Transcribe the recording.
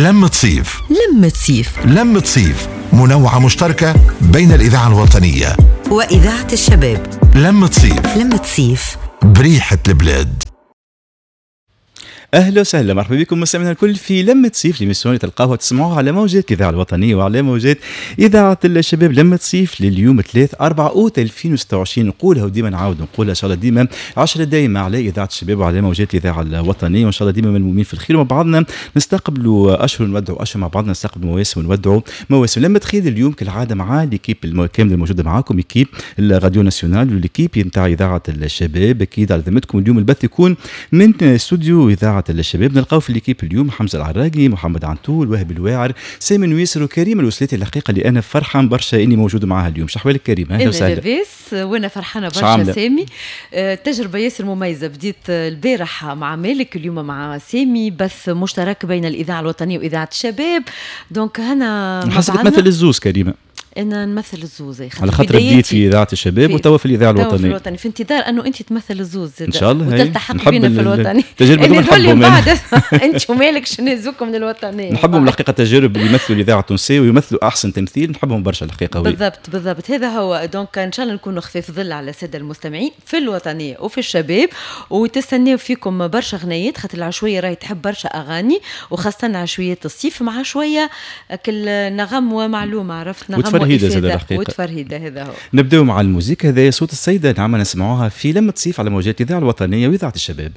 لمة صيف. لمة صيف. لمة صيف منوعة مشتركة بين الإذاعة الوطنية وإذاعة الشباب. لمة صيف. لمة صيف بريحة البلاد. اهلا وسهلا، مرحبا بكم مستمعينا الكل في لمة صيف، l'émission اللي تلقاوها تسمعوها على موجات الاذاعة الوطنية وعلى موجات اذاعة الشباب. لمة صيف لليوم 3 4 اوت 2026، نقولها وديما نعاود نقولها، ان شاء الله ديما 10 دايما على اذاعة الشباب وعلى موجات الاذاعة الوطنيه، وان شاء الله ديما ملمومين في الخير ومع بعضنا نستقبلوا اشهر نودعوا اشهر، مع بعضنا نستقبلوا مواسم ونودعوا مواسم. لمة خير اليوم كالعادة مع l'équipe الكاملة الموجودة معاكم، équipe ال radio nationale و l'équipe نتاع اذاعة الشباب. اكيد على ذمتكم اليوم البث يكون من استوديو اذاعة الشباب. نلقاو في l'équipe اليوم حمزة العراقي، محمد عنتول، وهب الواعر، سامي نويسر وكريم الوسلاتي. الحقيقة اللي انا فرحان برشا اني موجود معاها اليوم. شحوالك كريم؟ اهلا وسهلا. لاباس، وانا فرحانة برشا سامي. تجربه ياسر مميزه، بديت البارح مع مالك، اليوم مع سامي، بث مشترك بين الاذاعة الوطنية واذاعة الشباب، donc هنا حسيت تمثل الزوز كريمه. انا نمثل الزوز. على خاطر بديت في اذاعة الشباب وتوا في الاذاعة الوطنية. في الوطني، في انتظار انه انت تمثل الزوز. ان شاء الله. وتلتحق بينا في الوطني. التجربة دوما نحبهم. بعد انت ومالك شنو من الوطنيه. نحبهم الحقيقه، التجارب اللي يمثلوا الاذاعة التونسية ويمثلوا احسن تمثيل، نحبهم برشا الحقيقه. بالضبط بالضبط، هذا هو. donc ان شاء الله نكونوا خفيف ظل على السادة المستمعين في الوطنية وفي الشباب، وتستناو فيكم برشا غنيات، خاطر العشويه راهي تحب برشا اغاني، وخاصة عشويه الصيف مع شوية كل نغم ومعلومه، عرفت، نغم وتفرهيده زاد الحقيقه. وتفرهيده، هذا هو. نبداو مع الموسيقى، هذا صوت السيدة نعمه، نسمعوها في لمة صيف على موجات الاذاعة الوطنية واذاعة الشباب.